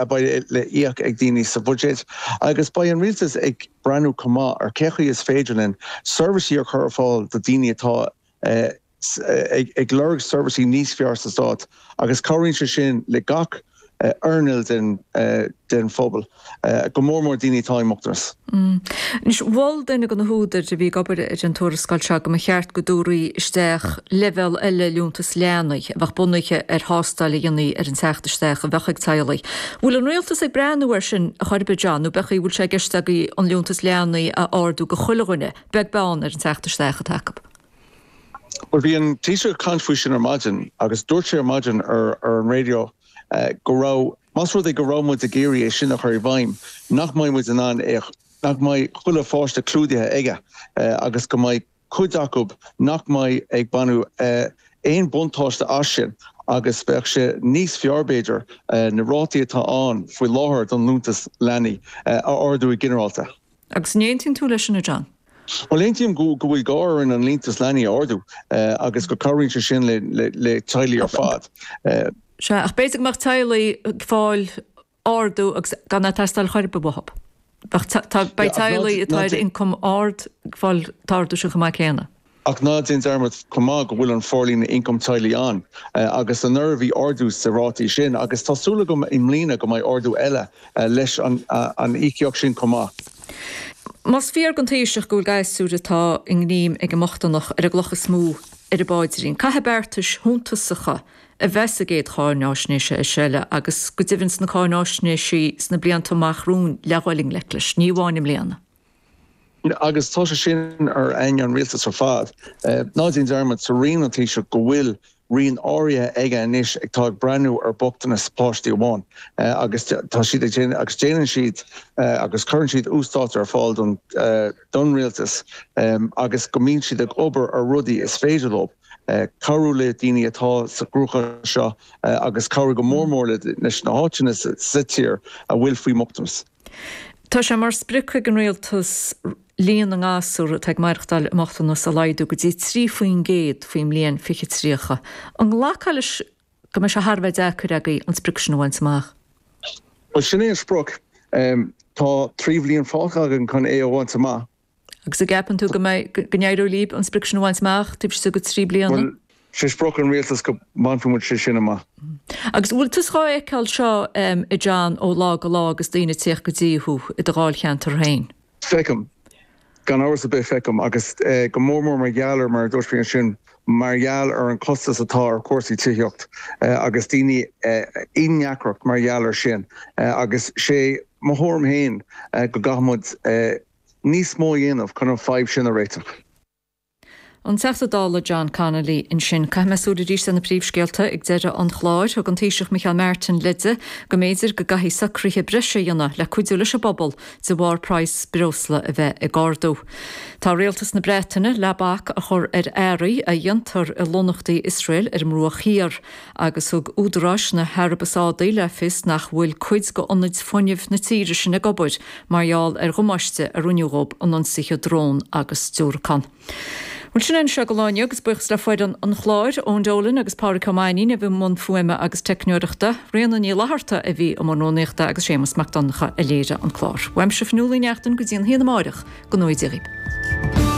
a bheidh le íoc ag daoine sa bhuiséad agus beidh an rialtas ag breathnú chomh maith ar cé chaoi is féidir linn seirbhísí a chur ar fáil do daoine atá ag lorg seirbhísí níos fearr sa stát agus cabhraíonn sé sin le gach earnáil den phobal, go mór mór daoine atá i mbochtanas. Anois, mhol duine de na húdair a bhí ag obair ar an tuarascáil seo go mba cheart go dtabharfaí isteach leibhéal eile liúntas leanaí a bheadh bunaithe ar thástáil a dhéanfaí ar an teacht isteach a bheadh ag teaghlaigh. Bhfuil an rialtas ag breathnú air sin a chor ar bith, John, nó b'é an bhfuil sé i gceist agaibh an liúntas leanaí a ardú go chuile dhuine, beag beann ar an teacht isteach atá acu? Bhuel, bhí an Taoiseach ag caint faoi sin ar maidin agus dúirt sé ar maidin ar an raidió go raibh, más rud é go raibh muid ag iarraidh é sin a chur i bhfeidhm, nach mbeidh muid in ann é, nach mbeidh chuile pháiste clúdaithe aige agus go mbeidh cuid acu nach mbeidh ag baineadh aon buntáiste as sin agus bheadh sé níos fearr b'fhéidir na rátaí atá ann faoi láthair don liúntas leanaí a ardú i ginearálta. Agus an aontaíonn tú leis sin, a John? Bhuel, aontaím go bhfuil gá orainn an liúntas leanaí a ardú agus go cabhraíonn sé sin le teaghlaigh ar fad. Sea, ach b'fhéidir go mbeadh teaghlaigh ag fáil ardú agus gan é ag teastáil chor ar bith uathu. Beidh teaghlaigh atá ar ioncam ard ag fáil an t-ardú sin chomh maith céanna. Ach ná déan dearmad chomh maith go bhfuil an forlíonadh ioncam teaghlaigh ann agus anuraidh bhí ardú sa rátaí sin agus tá súil agam i mbliana go mbeidh ardú eile leis an íocaíocht sin chomh maith. Más fíor don Taoiseach go bhfuil gasúir atá i ngreim ag an mbochtaineacht ar an gcloch is mó ar a bpaidrín, caithfidh beartais shuntasacha a bheith sa gcéad cháináisnéis is eile agus go deimhin sna cáináisnéisí sna blianta amach romhainn le dhul i ngleic leis, ní amháin i mbliana. Agus tá sé sin ar aigne an rialtais ar fad. Ná déan dearmad, sa roinn an Taoiseach go bhfuil roinn áirithe aige anois atá ag breathnú ar bochtanas páistí amháin agus tá siad ag déanamh agus déanann siad agus cuireann siad uasdáta ar fáil don don rialtas agus go mbíonn siad ag obair ar rudaí is féidir leo cabhrú le daoine atá sa gcruachás seo agus cabhrú go mór mór leis na háiteanna sa tír a bhfuil faoi mbochtanas. Tá sé mar sprioc ag an rialtas líon na ngasúr atá ag maireachtáil i mbochtanas a laghdú go dtí 3% faoin mbliain 2030. An nglacfá leis go mbeidh sé thar a bheith deacair agaibh an sprioc sin a bhaint amach? Bhuel, sin é an sprioc. Tá 3 bhliain fágtha againn chun é a bhaint amach. Agus an gceapann tú go mbeidh, go n-éireoidh libh an sprioc sin a bhaint amach taobh istigh de thrí bliana? Bhuel, sé sprioc an rialtais go mbainfidh muid sé sin amach. Agus an bhfuil tusa dhá fheiceáil seo, a John, ó lá go lá agus daoine ag tíocht go dtí thú i do dháilcheantar féin? Feicim. Gan amhras ar bith feicim. Agus go mór mór mar gheall ar, mar a dúirt mé ansin, mar gheall ar an chostas atá ar chúrsaí tithíocht agus daoine i ndeacracht mar gheall ar sin. Agus sé mo thuairim féin go gcaithfidh muid níos mó a dhéanamh chun an fadhb sin a réiteach. An Teachta Dála John Connolly ansin. Caithfidh mé súil arís ar na príomhscéalta ag deireadh an chláir. Thug an Taoiseach Micheál Martin leide go mb'fhéidir go gcaithfí socruithe breise a dhéanamh le cuidiú leis an bpobal de bharr praghas breosla a bheith ag ardú. Tá Rialtas na Breataine le bac a chur ar earraí a dhéantar i lonnaíochtaí Iosrael ar an mBruach Thiar. Agus thug údaráis na hAraibe Sádaí le fios nach bhfuil cuid d'ionaid fuinnimh na tíre sin ag obair mar gheall ar dhamáiste a rinneadh dhóibh in ionsaithe drón agus diúracán. Bhuel, sin é anseo don lá inniu agus buíochas le foireann an chláir, Eoin Dolan agus Pádraic Ó Mainnín a bhí i mbun fuaime agus teicneoireachta, Ríona Ní Fhlatharta a bhí i mbun rúnaíochta agus Séamus Mac Donncha a léirigh an clár. Uaimse Fionnuala Ní Neachtain go dtí an haon amáireach, go ngnóthaí Dia dhaoibh.